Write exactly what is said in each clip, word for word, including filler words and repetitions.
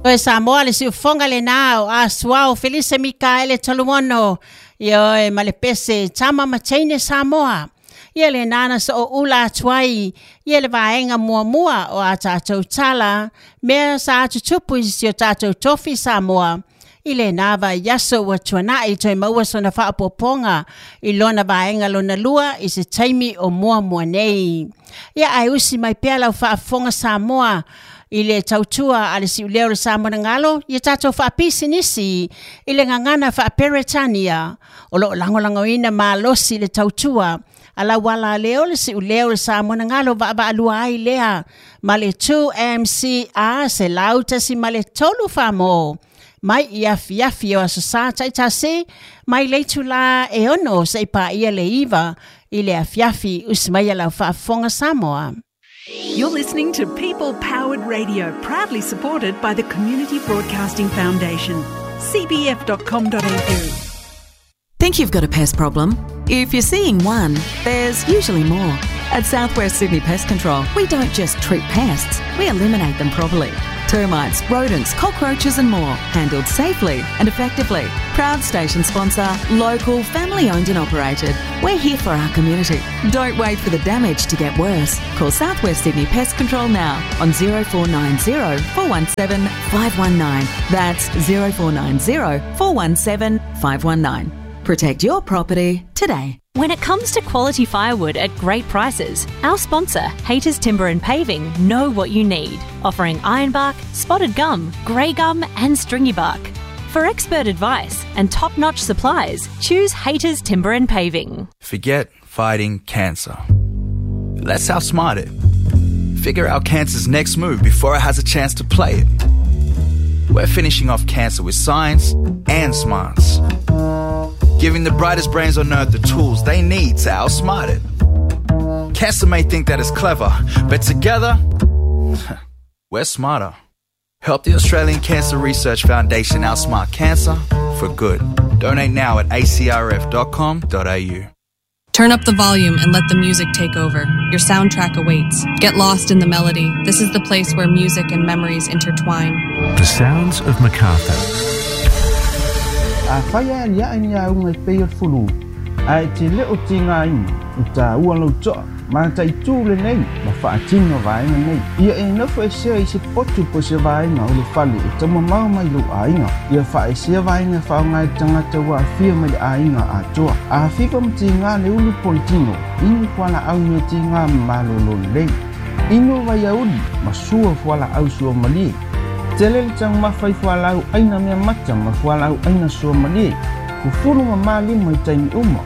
Toe Samoa le siufoga lenā o Asuao Felise Mikaele Toluono. Ioe ma le pese Tama ma Teine Samoa. Ia le nana so o ula atu ai, ia le vaega muamua o a tātou tala, mea sa tutupu i si o tātou tofi Samoa. I le nā vaiaso ua tuanai toe maua sona faapopoga i lona vaega lona lua i se taimi o muamua nei. Ia ae usi mai pea lau faafofoga Samoa i le tautua a le siuleo o le Samoa na galo, ia tātou faapisinisi i le gagana faaperetania. O loo lagolagoina malosi le tautua a lau ala lea o le siuleo o le Samoa na galo vaavaalua ai lea ma le two M C R se lau tasi ma le tolu famo. Mai i afiafi o aso sa taitasi, mai le itulā e ono se i paia le iva i le afiafi usi mai a lau faafofoga Samoa. You're listening to People Powered Radio, proudly supported by the Community Broadcasting Foundation, C B F dot com dot A U. Think you've got a pest problem? If you're seeing one, there's usually more. At Southwest Sydney Pest Control, we don't just treat pests, we eliminate them properly. Termites, rodents, cockroaches and more, handled safely and effectively. Proud station sponsor, local, family owned and operated. We're here for our community. Don't wait for the damage to get worse. Call Southwest Sydney Pest Control now on zero four nine zero, four one seven, five one nine. That's zero four nine zero, four one seven, five one nine. Protect your property today. When it comes to quality firewood at great prices, our sponsor, Hayters Timber and Paving, know what you need, offering ironbark, spotted gum, grey gum and stringy bark. For expert advice and top-notch supplies, choose Hayters Timber and Paving. Forget fighting cancer. Let's outsmart it. Figure out cancer's next move before it has a chance to play it. We're finishing off cancer with science and smarts. Giving the brightest brains on earth the tools they need to outsmart it. Cancer may think that it's clever, but together, we're smarter. Help the Australian Cancer Research Foundation outsmart cancer for good. Donate now at A C R F dot com dot A U. Turn up the volume and let the music take over. Your soundtrack awaits. Get lost in the melody. This is the place where music and memories intertwine. The sounds of MacArthur. A whaia ia ai ni aunga i pei o fulu. A e te leo ti ngā ina, i tā ua lau toa, ma tai tū le nei, ma whaatino vaenga nei. Ia e nofo e sea i se potu po se vaenga o le fale e tama mau mai lo ainga. Ia wha e sea vaenga whaonga e tangata wa awhia mai le ainga a toa. A whiwa mti ngā le ulu politino, inu kuala au me ti ngā malolo lei. Inu vai auli, ma sua fuala au sua malie. Tele le tang mawhai fualau aina mea mata ma fualau aina sua malie. Fufuru ma malima i taimi uma.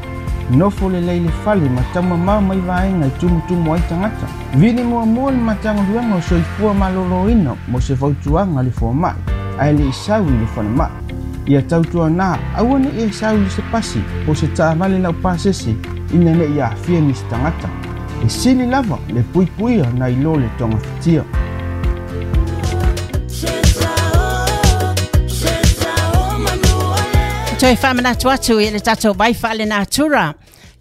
Nofo le leile fale ma tama mau mai vaenga i tumutumu ai tangata. Vili mua mua le matanga luanga o soifua maloloina mo se fautuanga le fua mai. Ae le isau i le fana mai. Ia tautua nā, aua ne e isau i se pasi po se taavale lau pasese ina ne i aafia nisi tangata. E sili lava le puipuia na ilo le tonga fitia. Toe whaamanatu atu i le tātou vai whaale natura.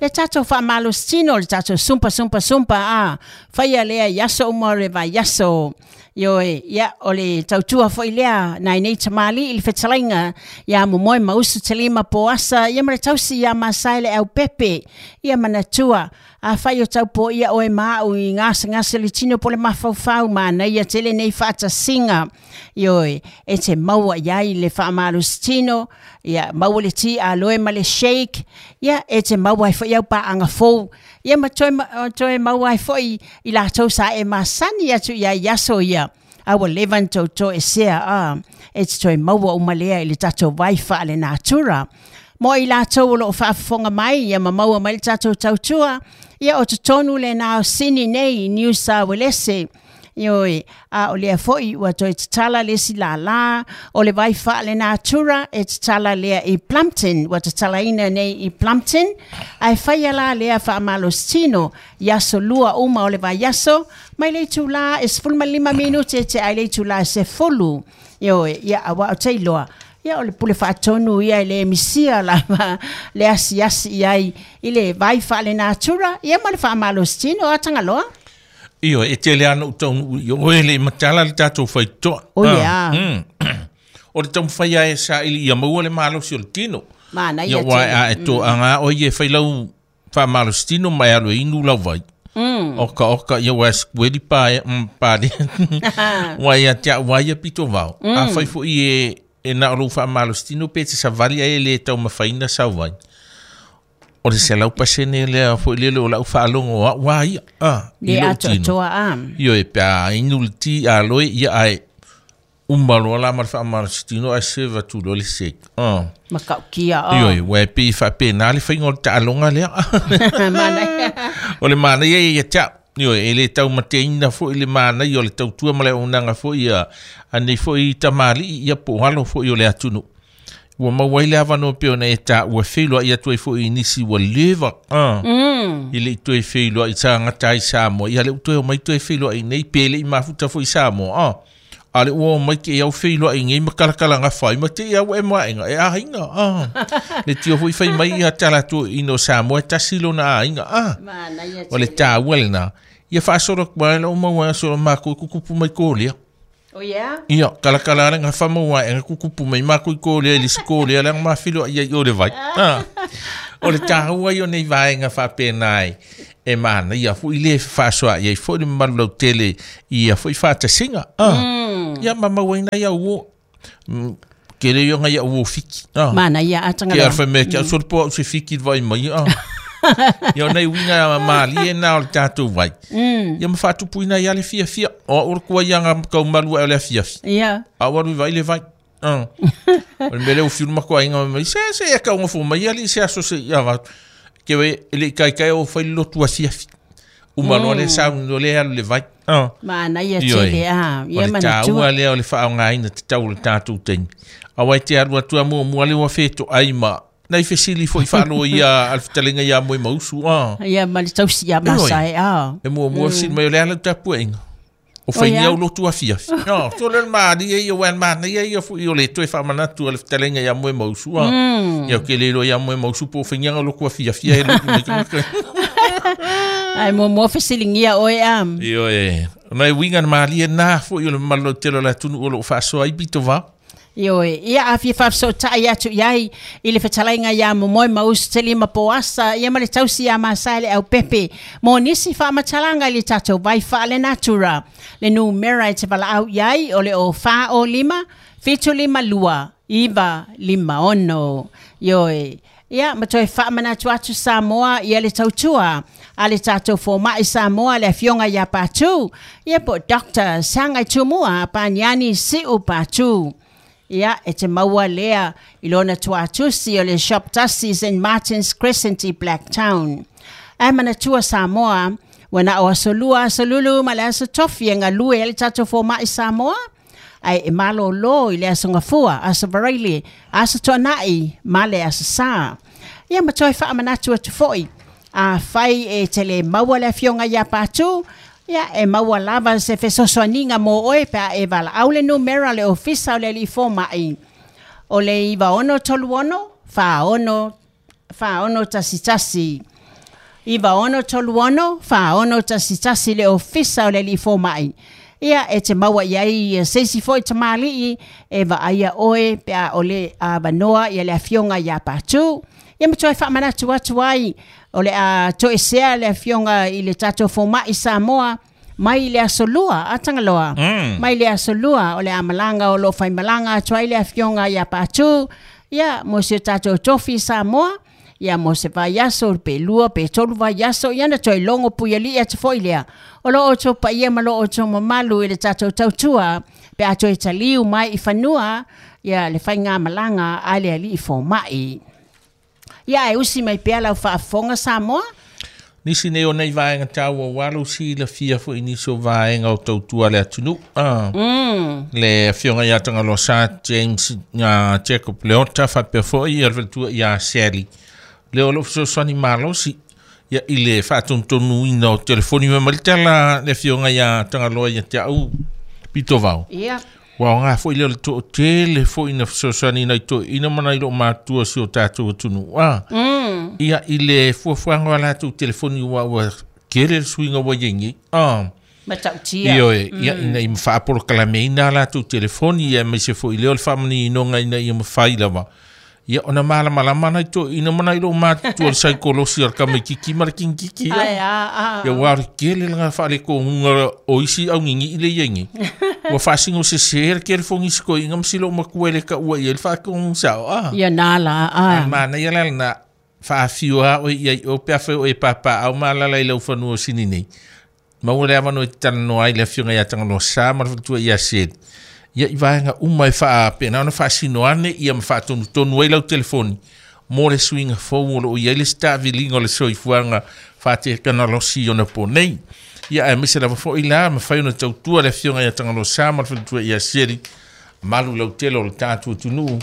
Le tātou whaamalosino, le tātou sumpa, sumpa, sumpa, a. Whaia lea iaso uma o le vai iaso. Ioe, ia, o le tautua foi lea, nai nei tamali i le whetalainga, ia momoe mausu te lima poasa, ia ma le tausi ia masai le au pepe, ia manatua. A whai o taupo ia oe maau i ngasa ngasa le tino po le mawhauwhau mana ia tele nei whaatasinga. Ioe, e te maua iai le whaamalosino, ia maua le ti a loe ma le shake, ia e te maua ai foi au paanga fou. Ia ma toe, toe maua ai foi i lātou sa e masani atu ia iaso ia. Aua levan tau toe sea a, e te toe maua umalea i le tātou waifa le natura. Mo i lātou o loo whaafofonga mai, ia ma maua mai le tātou tautua, ia o totonu le nā sini nei New South Wales. Ioi, a o lea foi ua toe tatala le si lālā, o le vai wha le natura e tatala lea i Plumpton, ua tatala ina nei i Plumpton, ai whaia la lea wha malostino, iaso lua uma o le vai iaso, mai le tūlā e sefulu ma lima minute e te ai le tūlā se fulu. Ioi, ia awa o teiloa. Ia o le pule whaatonu ia i le misia lava le asi asi iai i le vai wha le natura, ia ma le wha malostino a tangaloa. Io e tele ana u taunu i oe le matala le tātou whaitoa. O ia. O le taumafai ai e saili ia maua le malosi o le tino. Manaia Ia ua tele. a e toaga o ia e fai lau faamalositino ma e alu e inu lau vai. Mm. Oka oka ia ua sikueli pa e mm, pa le. Ua ia tia ua ia pito vao. Mm. A fai foi e e na o lou faamalositino pe te savali ai e le taumafaina sau vai. O le selau pasene lea foi lele o lau faalogo au a ia. Ah, i Le lou atoa tino. toa a. Ioe e pe a inu le ti a loe ia ae uma loa la ma le faamalositino ae serve atu loa le shake. Ah. Makaukia o. Ioe, ua e pei faapena le faiga o le taaloga lea. Manaia. O le manaia ia ia te au. Ioe, e le taumateina foi le manaia o le tautua ma le auaunaga foi ia anei foi tamalii ia po o alo foi o le atunuu. Ua maua ai le avanoa pei ona e taua feiloai atu ai foi i nisi ua leva. Ah. Mm. I le i toe feiloai tagata ai Samoa. Ia le ua toe omai toe feiloai nei pe le i mafuta foi Samoa. Ah. A le ua omai ke au feiloai nei ma kalakalagafa ai ma te i au e maega e aiga. Ah. Le tio foi fai mai ia talatou ina o Samoa e tasi lona aiga. Ah. Manaia O le tele. taua lena. Ia faasolo atu ai lau maua aso makou kukupu mai kolia. Oh yeah? Ia, kalakala le gafa maua aega kukupu mai makou i kolia i le isi kolia leaga mafiloai ai o le vai. Ah. O le taua ia o nei vaega faapena ai e manaia foi le fefaasoaai ai foi le mamalu lautele i ia foi faatasiga. Ah. Mm. Ia ma mauaina ia uo. Mm, Kele ia ngai au fiki. Ah. Manaia Ke atangaloa. alfa mea ke au solo po au se fiki le vai mai. Ah. Ia o nei uiga malie na o le tatou vai. Mm. Ia ma faatupuina ia le fiafia. O au le kua ia ngā kaumalu ai o le afiafi. Ia. A ua alu i vai le vai. Ah. O le mea lea ua fiu le makuaiga mai se se e kaugafo mai ali se aso se ia va. Ke we e le kaikai o fai le lotu afiafi. Uma loa le sauni loa le alu le vai. Ah. Manaia Ioe. tele a. O Ia le manatua. taua lea o le faaaogaina tatau o le tatou taimi. Auā e te alu atu a muamua le ua fetoai ma nai fesili foi faaloia a le fetalega iā moe mausu. Ah. Ia ma le tausi ia masae a. E muamua fesili mai o le a lau tapuaiga. O fainia ia? au lotu afiafi. No, so le malie ia ua manaia ia foi o le toe faamanatu a le fetalega iā moe mausu. Ah. Mm. Ia o ke le iloa iā moe mausu po o fainia lotu afiafi e lotu mai ka. Ai muamua fesiligia oe a. Ioe. Nai uiga na malie nā foi o le mamalu lautele o le atunuu o loo faasoa ai pito vao. Ioe, ia a fia faafesootai atu iai i le fetalaiga iā momoe mausu tele ma poasa ia ma le tausi iā masae le aupepe mo nisi faamatalaga i le tatou vai faalenatura. Le numera e te valaau iai o le o fa o lima, fitu lima lua, iva lima ono. Ioe, ia ma toe faamanatu atu Samoa ia le tautua a le tatou fomai Samoa le afioga iā Patu. Ia po Doctor Sagai Tumua Paniani Siu Patu. Ia, e te maua lea i lona tuatusi o le Shop Tasi Saint Martin's Crescent i Blacktown. Ae manatua Samoa, ua na o aso lua aso lulu ma le aso tofi e galue ai le tatou fomai Samoa, ae e malōlō i le aso gafua, aso varaile, aso tuanai ma le aso sā. Ia ma toe faamanatu atu foi, a fai e te le maua le afioga iā Patu, ia e maua lava se fesoasoaniga mo oe pe a e valaau le numera le ofisa o le alii fomai. O le iva ono tolu ono, fa ono, fa ono tasi tasi. Iva ono tolu ono, fa ono tasi tasi le ofisa o le alii fomai. Ia e te maua iai ia se isi foi tamalii e vaaia oe pe a o le avanoa ia le afioga iā Patu. Ia ma toe faamanatu atu ai o le a toesea le afioga i le tatou fomai Samoa mai le aso lua atagaloa. Mm. Mai le aso lua o le amalaga o loo faimalaga atu ai le afioga iā Patu. Ia mo si o tatou tofi Samoa. Ia mo se vaiaso pe lua pe tolu vaiaso ia na toe logo puialii atu foi lea. O loo outou paia ma loo outou mamalu i le tatou tautua pe a toe taliu mai i fanua ia le faigamalaga a le alii fomai. Ia e usi mai pea lau faafofoga Samoa. Nisi nei o nei vaega taua ua lau silafia foi nisi o vaega o tautua le atunuu. Ah. Mm. Le afioga iā Tagaloa Sa James uh, Jacob Leota faapea foi ia le faletua iā Sally. Le o loo fesoasoani malosi ia i le faatonutonuina o telefoni mai ma le tala le afioga iā Tagaloa ia te au pito vao. Ia. Ua aoga foi lea o le toatele foi na fesoasoani nai toeaina ma nai loo matua si o tatou atunuu. Ah. Mm. Ia i le fuafuaga o a latou telefoni ua ua kele le suiga ua iai nei. Ah. Matautia. Ioe, ia ina i mawhaapolokalameina a latou telefoni ia aemaise foʻi lea o le faamaninoga ina ia mafai lava ia ona malamalama nai toeaina ma nai lou matutua le saikolosi o le kamaikiki ma le kingikiki ia ia ua o le kele laga faalekoguga o isi augigii le iai ua faasigo sesē le kele fogisi koiga ma silou makua i le kaua i ai le faakogu sao a ia na la a manaia la lena faafio a oe iai o pe afai o e papaau ma alala i lau fanua o sini nei maua le avanoa e talanoa ai le afioga iā Tagaloa Sa ma le faletua ia Seli ia i vaega uma e faapena ona faasino ane ia ma faatonutonu ai lau telefoni mo le suiga fou o loo iai le setaaviliga o le soifuaga faatekanalosi ona po nei ia aemaise lava foʻi la mafai ona tautua le afioga iā Tagaloa Sa ma le faletua ia Seli malu lautele o le tatou atunuu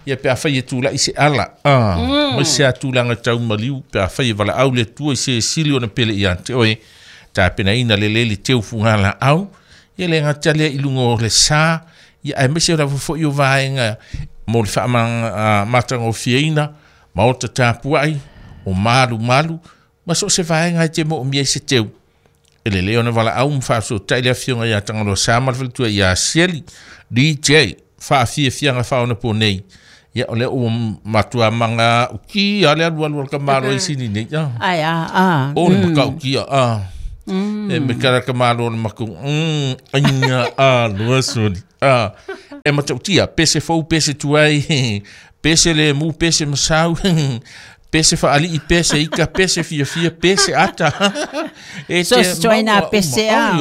ia pe afai e tulaʻi se ala a ma se atulaga taumaliu pe afai e valaau le Atua i se sili ona pele ia te oe tapenaina lelei le teufuga laau ia le gata lea i luga o le sā ia aemaise lava foʻi o vaega mo le faamatagofieina maota tapuaʻi o malumalu ma so o se vaega e te moomia i se teu e lelei ona valaau ma faasotaʻi le afioga iā Tagaloa Sa ma le faletua ia Sieli D J faafiafiaga faaonapo nei ia o lea ua matua maga uki a le alualu o le kamalo i sini nei a ai a a o le makaukia a e me kala kamalo le maku mm aina a lua soli a e matautia pese fou pese tuai pese le mu pese masau pese faalii pese ika pese fiafia pese ata e so soina pese a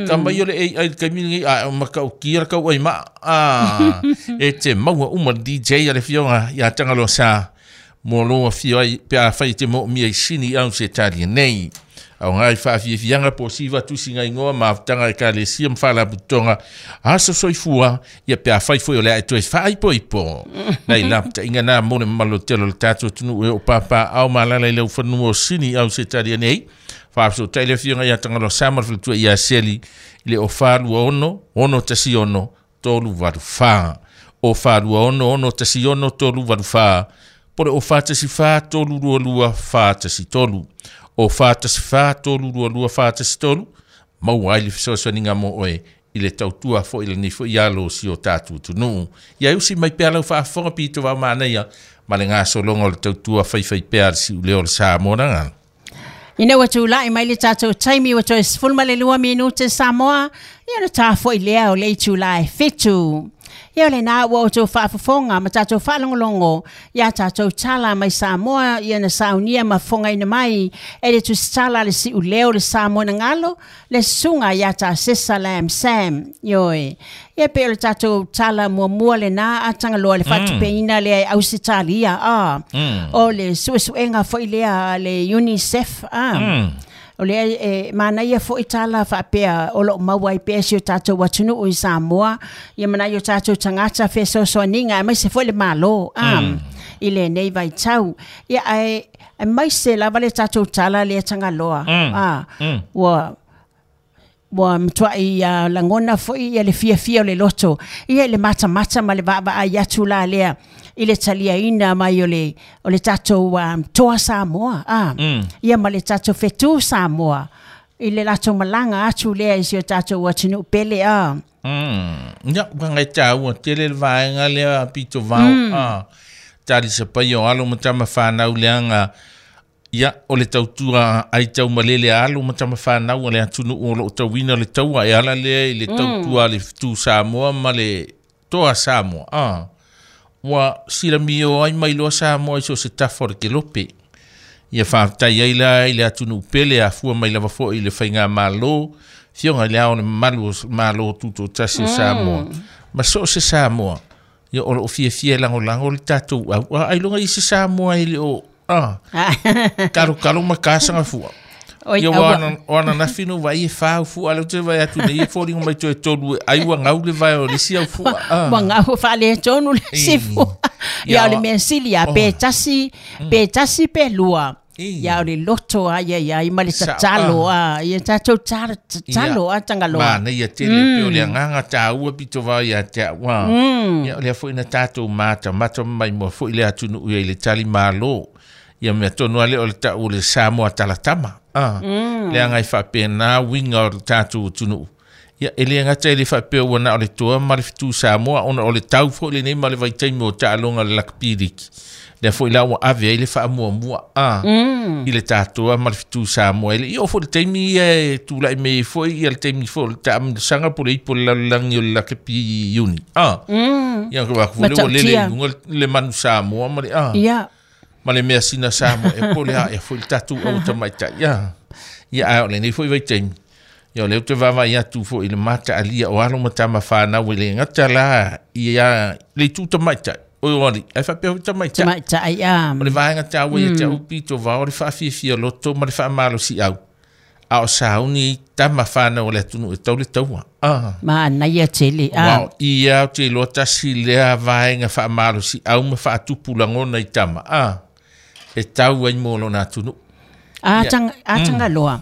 kamai o le ai kaimi nei a makaukia le kau ai ma a e te maua uma D J a le fioga ia Tagaloa Sa mo lo afio ai pe afai te moomia i sini au se tali nei au ngai faafiafiaga po siva tusiga igoa ma afutaga ekalesia ma faalapototoga aso soifua ia pe afai foi o le ae toe faaipoipo nai lapataiga na mo le mamalu tele o le tatou atunuu e oo papaao ma alala i laufanua o sini au se talia nei faasotaʻi le afioga iā Tagaloa Sa ma le faletua ia Seli i le o falua ono ono tasi ono tolu valu fā o falua ono ono tasi ono tolu valu fā po le o fatasi fā tolu lua lua fatasi tolu o fatasi fā tolu lua lua fatasi tolu maua ai le fesoasoaniga mo oe i le tautua foʻi lenei foʻi alo o si o tatou atunuu ia e usi mai pea lau faafofoga pito vao manaia ma le gasologa o le tautua faifaipea a le siuleo o le Samoa lagalo. Ina ua tulaʻi mai le tatou taimi ua toe sefulu ma le lua minute Samoa ia ona tafoʻi lea o le itulā e fitu. Ia o lenā ua outou faafofoga ma tatou faalogologo ia tatou tala mai Samoa ia na saunia ma fofogaina mai e le tusitala le siuleo le Samoa na galo le susuga ia Tasesa Lam Sam ioe. Ia pe o le tatou tala muamua lenā a Tagaloa le faatupeina lea e Ausetalia a o le suesuega foʻi lea le UNICEF a o lea e manaia foʻi tala faapea o loo maua ai pea si o tatou atunuu i Samoa ia manai o tatou tagata fesoasoaniga aemaise foʻi le Malo a i lenei vaitau ia ae aemaise lava le tatou tala lea Tagaloa a ua ua matuai uh, lagona foʻi ia le fiafia o le loto ia i le matamata ma le vaavaai atu la lea i le taliaina mai o le o le tatou um, toa Samoa a mm. ia ma le tatou fetu Samoa i le latou malaga atu lea i si o tatou atunuu pele a mm. Ia uaga e tāua tele le vaega lea pito vao mm. a tali sapai o alo ma tama whanau leaga ia o le tautua ai tau malele alo ma tama whanau o le atunuu o loo tauina le taua e ala lea i le tautua le fetu Samoa ma le toa Samoa a ua silamio ai mai loa Samoa i so se tafa o le kelope ia faafetai ai la i le atunuu pele afua mai lava foʻi i le faigamālō fioga i le ao le mamalu o Malo Tutotasi o Samoa ma so o se Samoa ia o loo fiafia e lagolago le tatou au a ailoga i se Samoa e le o a kalokalo ma kasaga fua ia ua o ananafi no vai e fā fua le te vai atu nei e foliga mai toe tolu ai ua gau le vai o le isi au fua ua gau faaletonu le isi fua ia o le mea sili a pe tasi pe tasi pe lua ia o le loto a ia ia ma le tatalo a ia tatou tatalo a Tagaloa manaia tele pe o le agaga tāua pito vao ia te au a ia o lea foʻi na tatou matamata mai moa foʻi le atunuu ia i le tali mālō Ia mea tonu ale o le tau le Samoa talatama. Ah, mm. Le anga i whapena winga o le tātou tunu. Ia ele ngata ele whapea ua na o le toa ma le fitu Samoa ona o le tau fo le nei ma le vaitaimi o taaloga le lakapiriki. Lea foi la ua ave ai le faamuamua a mm. i le tātoa ma le fitu Samoa. Ele i o fo le taimi ia e tūlai me foi ia le taimi fo le taamilosaga po le ipo le lalolagi o le lakapi iuni. Ah. Mm. Ia ka waku le o lele i luga le manu Samoa ma le ah. Ia. Ma le mea sina Samoa e po le a e foi le tātou au tamaitai. Ia. Ia a o le nei foi vaitaimi. Ia o le te vava ia tu fo i le mata alia o alo matama whanau i le ngata la ia le tū tamaitai. O wali, ai whapea hui tamaitai. Tamaitai, ia. O le vaenga tāua ia te upi tō vao le whaafiafia loto ma le whaamalo si au. A o sauni tama whanau o le atunu e tau le taua. Ah. Ma anaia tele. Ah. Wao, ia o te loa tasi lea vaenga whaamalo si au ma whaatupu langona i tama. Ah. E tau ai mō lona atunu. A tanga a tanga loa.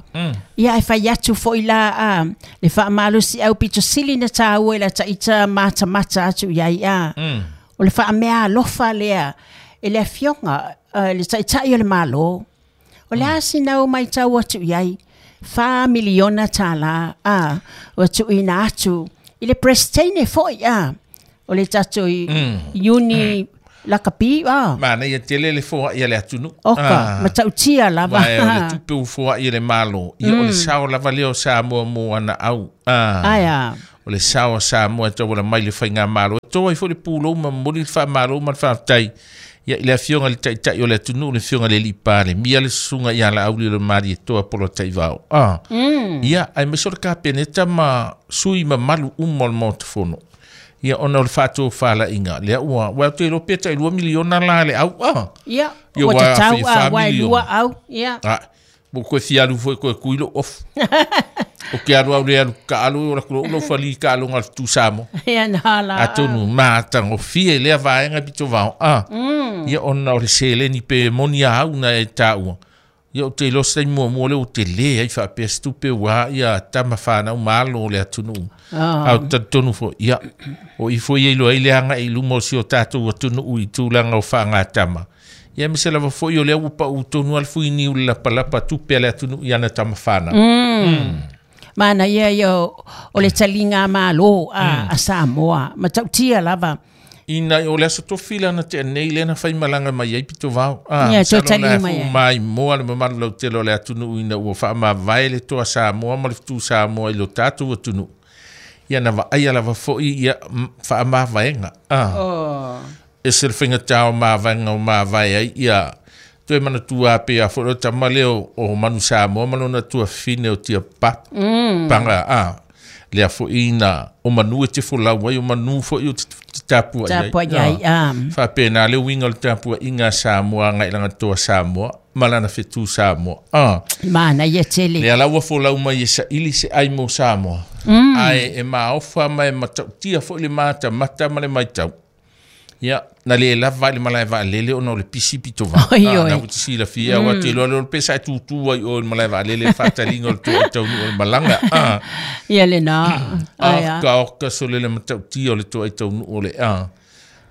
Ia e fai atu foi la a le whaamalo si au pito sili na tāua i la taita mata mata atu iai a. Mm. O le whaamea alofa lea e le afioga le taitai o le malo. O le asinau mai tau atu iai wha miliona tāla a o atu ina atu i le presteine foi a o le tato i iuni lakapi a. Mana ia tele le foa ia le atunu. Oka, matautia lava. Vai o le tupe u foa ia le malo. Ia o le sao lava leo Samoa mo ana au. Aia. O le sao Samoa tau wala mai le whainga malo. Tō ai fo le pūlou ma moli le wha malo ma le whaatai. Ia i le afioga le taitai o le atunu le afioga le lipa le mia le susunga ia la auli le mari e toa polo taivao. Ah. Mm. Ia ai meso le kapeneta ma sui ma malu umo le motofono. Ia ona o le whātua whala inga. Lea ua, ua te lo peta i lua miliona la le au. Ah. Ia, ua te tau a, ua e lua au. Ia. Ah. Mo koe fialu foi koe kuilo off. O ke alu au le alu ka alu o la kulo ulo whali ka alu ngā tu Samoa. Ia nā la. Atonu mātango fie lea vaenga pito vao. Ah. Mm. Ia ona o le seleni pe moni a au na e tāua. Ia o te losa i mua mua le o te le ai whaapea stupe wā ia tama whanau malo le atunu. Oh. Au tatonu fo. Ia o i fo ia iloa i le anga i luma o si o tātou atunu i tūlanga o whaanga tama. Ia me se lava foi o lea upa u tonu al fuini u lapa lapa tupe ale atunu i ana tama whanau. Mm. Mm. Mana ia ia o le talinga malo a, mm. a Samoa. Matautia lava. Ina o le aso tofila na te nei lena whai malanga mai ai pito vao. Ah, ia, tō talinga mai ai. Mai moa le mamalu lau tele o le atunu ina ua whaamavae le toa Samoa ma le fitu Samoa i lo tātou atunu. Ia na vaai lava foi ia whaamavaenga. Ah. Oh. E se le whainga tāo māvaenga o māvae ai ia toe mana tua pe a fo tamale o, o manu Samoa malona tua fine o tia pa mm. panga a lea fo ina o manu e te folau ai o manu fo i o te tapua ai tapua ai ah. Whapena le winga o le tapua inga Samoa ngai langa toa Samoa malana fetu Samoa ah. Mana ia tele lea laua folau mai e sa ili se ai mo Samoa mm. Ai e maofa mai matautia fo le mata mata ma le maitau. Ia, na le lava le malae vaalele ona o le pisi pito vā. Oi, oi. Na uti sila fia, mm. te loa le pesa e tūtū ai o le malae vaalele whatalinga o le toa taunu o le malanga. Ah. Ia le nā. Ah, ka oka so le le matautia o le toa taunu o le ah.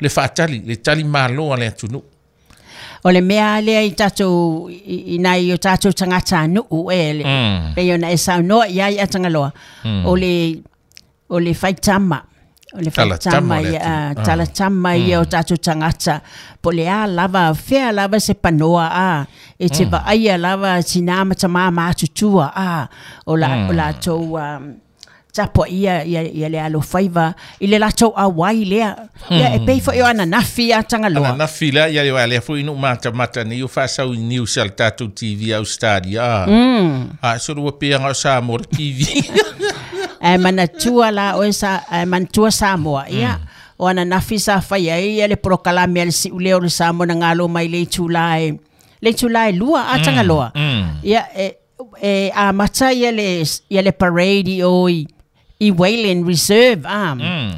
Le whaatali, le tali malo a le atunu. O le mea lea i tātou, i, i nai o tātou tangata nuu e, le, mm. pe ona e saunoa ia i atangaloa. Mm. O le, o le whaitama. O le whaitama ia, talatama ia o tātou tangata. Po le a lava, whea lava se panoa a. E te vaaia lava tina mata mātutua a. O la, mm. o la tau um, tapo ia, ia, ia le alo whaiva. I le latou awai lea. Ia e pei fo i o ananafi a tangaloa. Ananafi lea, ia lea lea fo inu mata mata ni o whasau i news al tātou T V Australia. Mm. A, so rua peanga o Samoa T V. E manatua la oe sa, e manatua Samoa, ia. Mm. O ananafi sa whai ai, ia le prokalame ale si uleo le Samoa na ngalo mai le itula e, le itula e lua a tangaloa. Mm. Ia, e, e a mata ia le, ia le parade i o i, i Wayland Reserve, ah. Mm.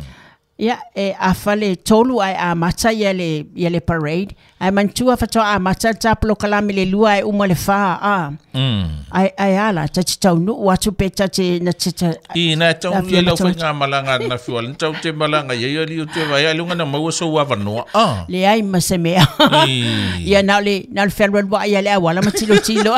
Ia, e afa le tolu ae amata ia le, ia le parade. Ae manatua faatoa amata le ta polokalame le lua ae uma le fa a. Mm. Ai ai ala, ta te taunuu atu pe ta te na te ta. I na tau Afia ia lau matau- faiga malaga na fiwa le tau te malaga ia ia li o te vai lunga na maua so avanoa. Ah. Leai ma se mea. I. Ia na o le na o le fealualuai ia le auala ma tilotilo.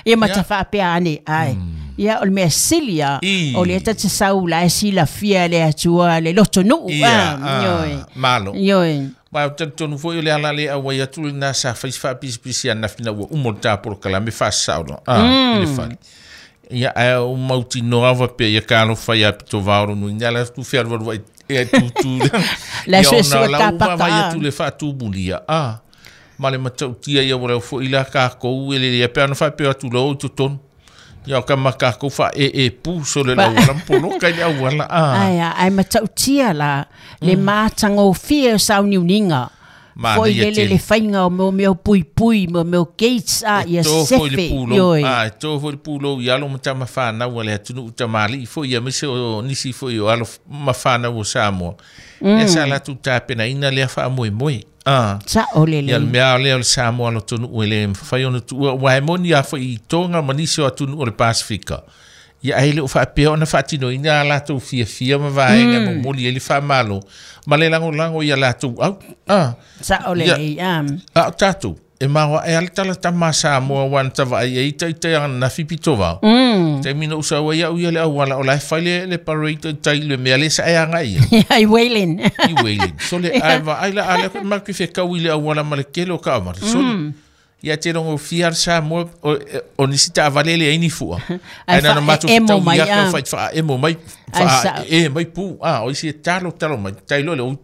Ia ma ta faapea ane ai. Ia o le mea sili a I. o le ta te sau la e silafia le Atua le lotonuu. Ia, ah, ioe. ah, malo. Ioe. Ma o talitonu foi o le ala le auai atu lena sa fai se faapisipisi ananafi ina ua uma le ta polokalame faasasao ah, i le fale. Ia ae o mautinoa faapea ia kalofa ia pito vaolo nui ina ala tu fealualuai e tutu. La Ia suesue ona o lau tapaka, vaavaai ah. atu le faatumulia ah, ma le matautia ia ua leo foi la kakou e lelei pe ana faapea atu loa o i totonu. Ia o ka ma kakou faaee pu so le lauala ma poloka i le auala ah. Ai a, ai matautia la le matagofie o sauniuniga. Manaia Foi lele tele. le faiga o mea mea puipui, mo mea gates a ia to foi le sefe. pulou Ioe. ah e to foi le pulou i alo ma tama whanau a le atunuu tamalii foi ia aemaise o nisi foi o alo ma whanau o Samoa. Mm. Ia sa latou tapenaina lea faamoemoe. Ah. Sa'o Ia le lelei. mea lea o le Samoa lotonuu e le mafai ona tuua ua e moni a foi i Tonga ma nisi o atunuu o le Pasifika. Ia ai le o faapea ona faatinoina a latou fiafia ma vaega mm. momoli ai le faamalo ma le lagolago ia latou au. Ah. Sa'o Ia, lelei. Ah. a o tatou e maoa e ale tala tama Samoa ua na tavaai ai taitai ananafi pito vao. Mm. Taimi na ou sau ai au ia le auala o la e fai le, le parade tai le mea le sa e agai ia Ai Waylon. i Waylon. So le ai va ai la ale ko ma ki fe kau i le auala ma le kele o ka amara. So le ia te rongo fia le Samoa o, o nisi ta avale le ai ni fua. Ai Ai na fa- matou e- emo fetau mai, ia ka ah. fai fa emo mai Ai fa sa- e mai pu ah o isi e talo talo mai tai lo le o